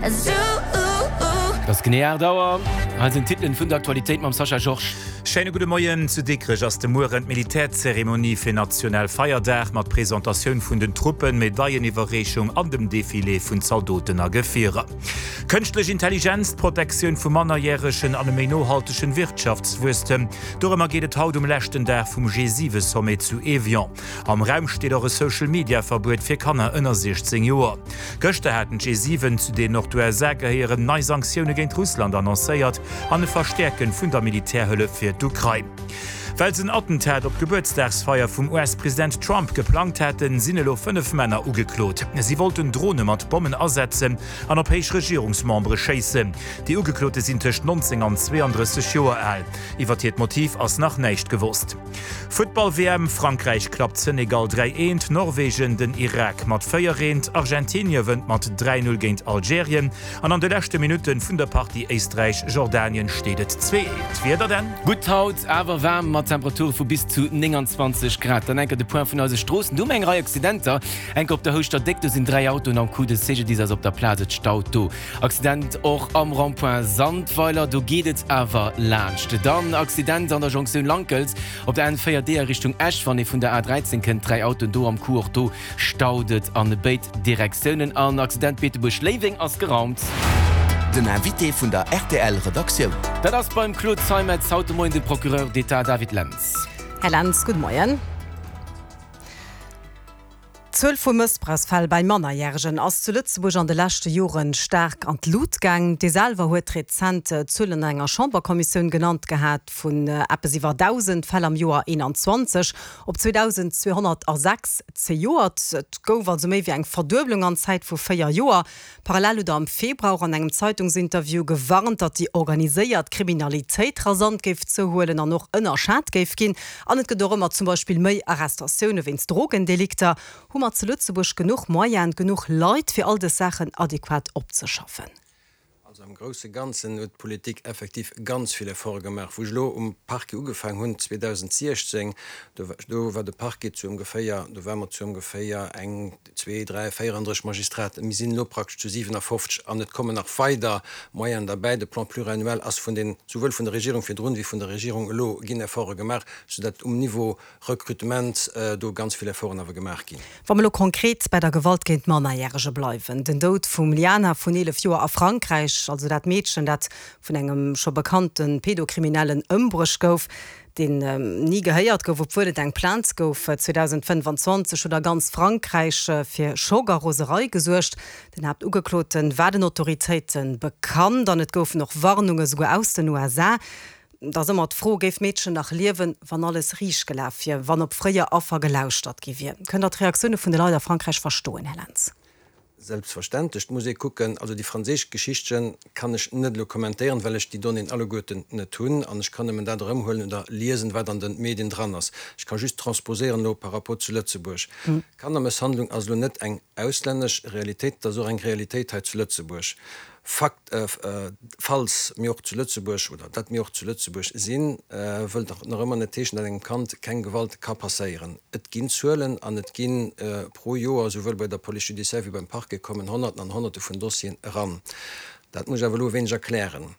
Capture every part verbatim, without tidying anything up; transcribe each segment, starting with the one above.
Et ass genee aacht Auer. Hei sinn d'Titelen vun der Aktualitéit mam Sascha Georges. Schéine gudde Moien. Zu Dikrech ass de Mueren d'Militärzeremonie fir Nationalfeierdag mat Presentatioun vun den Truppen, Medailleniwwerreechung an dem Defilé vun Zaldoten a Gefierer. Kënschtlech Intelligenz, d'Protektioun vu Mannerjäregen an e méi nohaltegen Wirtschaftswuesstem, dorëmmer geet et haut um leschten Dag vum G siwe Sommet zu Evian. Am Raum steet och e Social-Media-Verbuet fir Kanner ënner siechzéng Joer. Gëschter haten d'G siwen, zu deenen och d'U S A gehéieren, nei Sanktioune géint Russland annoncéiert an e Verstäerke vun der Militärhëllef fir d'Ukrain. Well se en Attentat op d'Gebuertsdagsfeier vum U S-President Trump geplangt haten, sinn elo fënnef Männer ugeklot. Si wollten Drone mat Bommen asetzen an op héich Regierungsmembere schéissen. Déi Ugeklote sinn tëscht neunzéng an zweeandrësseg Joer al. Iwwer hiert Motiv ass nach näischt gewosst. Futtball-W M, Frankräich klappt Senegal dräi eent, Norwegen den Irak mat véier eent, Argentinie wënnt mat dräi null géint Algerien an an de leschte Minutte vun der Partie Éisträich-Jordanien steet et zwee eent. D'Wieder dann? Gutt haut, awer waarm mat Temperature vu bis zu nénganzwanzeg Grad. Dann enker de Point vun eise Stroossen. Do hu mer eng Rei Accidenter. Enker op der Houschter Déck, do sinn dräi Autoen am Coup, de C G D I S ass op der Plaz, et staut do. Accident och am Rond-point Sandweiler, do geet et awer laanscht. Dann Accident an der Jonktioun Lankels op der N véier D a Richtung Esch, wann ee vun der A dräizéng kënnt, dräi Autoen do am Coup, och do staut et an béid Direktiounen. An Accident Beetebuerg-Léiweng ass geraumt. Den Invité vun der R T L Redaktioun. Dat ass beim Claude Zeimetz haut de Moien de Procureur d'État David Lentz. Här Lentz, gudde Moien. D'Zuel vu Mëssbrauchsfäll bei Mannerjäregen ass zu Lëtzebuerg an de leschte Joren staark an d'Lut gaang. Dir selwer huet rezent Zuelen an enger Chamberkommissioun genannt gehat, vun eppes iwwer dausend Fäll am Joer eenanzwanzeg op zweedausendzweehonnertsechs zejoert. Et gouf also méi wéi eng Verdueblung an Zäit vu véier Joer. Parallel hutt Der am Februar och an engem Zeitungsinterview gewarnt, datt déi organiséiert Kriminalitéit rasant géif zouhuelen an och ënnerschat géif ginn. An et gëtt och ëmmer zum Beispill méi Arrestatioune wéinst Drogendelikter. Hu mer zu Lëtzebuerg genuch Moyenen, genuch Leit, fir all dës Saachen adequat opzeschaffen? Also am grousse Ganzen huet d'Politik effektiv ganz vill Efforte gemaach. Wou ech elo um Parquet ugefaangen hunn zweedausendsiechzéng, do do war de Parquet zu ongeféier, do ware mer zu ongeféier eng, zwee, dräi, véierandrësseg Magistraten. Mir sinn elo praktesch zu siwenafofzeg an et kommen nach weider Moyenen derbäi. De Plan pluriannuel ass vun den, souwuel vun der Regierung virdrun wéi vun der Regierung elo ginn Efforte gemaach, soudatt um Niveau Recrutement do ganz vill Efforten awer gemaach ginn. Wa mer elo konkret bei der Gewalt géint Mannerjärege bleiwen, den Doud vum Liana vun eelef Joer a Frankräich, also dat Meedchen, dat vun engem scho bekannte Pedokriminellen ëmbruecht gouf, deen ni gehéiert gouf, obwuel et eng Plainte gouf, zweedausendfënnefanzwanzeg huet a ganz Frankräich fir Schock a Roserei gesuergt. Den Haaptugeklote war den Autoritéite bekannt an et goufen och Warnunge souguer aus den U S A. Da ass ëmmer d'Fro, Géif d'Meedchen nach liewen, wann alles riicht gelaf wier, wann op fréier Affer gelauschtert gi wier? Kënnt Der d'Reaktioune vun de Leit a Frankräich verstoen, Här Lentz? Selbstverständlech. Et muss ee kucken, also déi franséisch Geschichtche kann ech net elo kommentéieren, well ech déi Donnéeën alleguerten net hunn an ech kann nëmmen dat erëmhuelen oder liesen, wat an de Medien dran ass. Ech ka just transposéieren elo par rapport zu Lëtzebuerg. Kannermësshandlung ass elo net eng auslännesch Realitéit, et ass och eng Realitéit hei zu Lëtzebuerg. Fakt, falls mir och zu Lëtzebuerg, oder datt mir och zu Lëtzebuerg sinn, wëllt nach ëmmer net heeschen, datt engem Kand keng Gewalt ka passéieren. Et ginn Zuelen an et gi pro Joer, souwuel bei der Police judiciaire wéi beim Parquet, kommen Honnerten an Honnerte vun Dossieren eran. Dat muss ech awer elo e wéineg erklären.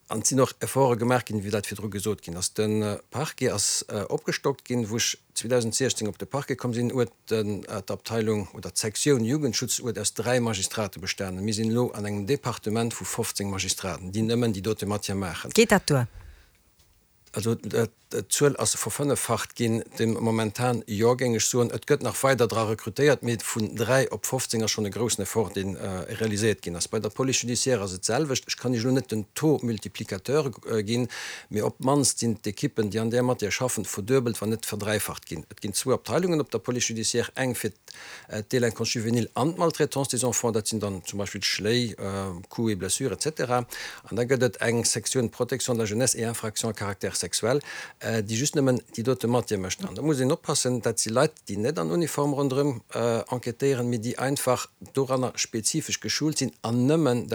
An et sinn och Efforte gemaach ginn, wéi dat virdru gesot ginn ass. De Parquet ass opgestockt ginn. Wou ech zweedausendsiechzéng op de Parquet komm sinn, huet d'Abteilung oder d'Sektioun Jugendschutz huet aus dräi Magistrate bestanen. Mir sinn elo an engem Departement vu fofzéng Magistraten, déi nëmmen déi dote Matière maachen. Geet dat duer? Also d'Zuel ass verfënneffacht ginn de momentan, jo, géing ech soen. Et gëtt nach weider dra rekrutéiert, mee vun dräi op fofzéng ass schonn e groussen Effort, dee realiséiert ginn ass. Bei der Police judiciaire ass et d'selwecht. Ech kann Iech elo net den Taux multiplicateur ginn, mee op d'mannst sinn d'Ekippen, déi an där Matière schaffen, verduebelt, wann net verdräifacht ginn. Et ginn zwou Abteilungen op der Police judiciaire, eng fir d'Délinquance juvénile an d'Maltraitance des enfants, dat sinn dann zum Beispill Schléi, Coups et blessures, et cetera. An da gëtt et eng Sektioun Protection de la jeunesse et infractions à caractère sexuel, déi just nëmmen déi dote Matière mécht. An da muss een oppassen, dat si Leit, déi net an Uniform ronderëm enquêtéieren, mee déi einfach doranner spezifesch geschult sinn an nëmmen dat.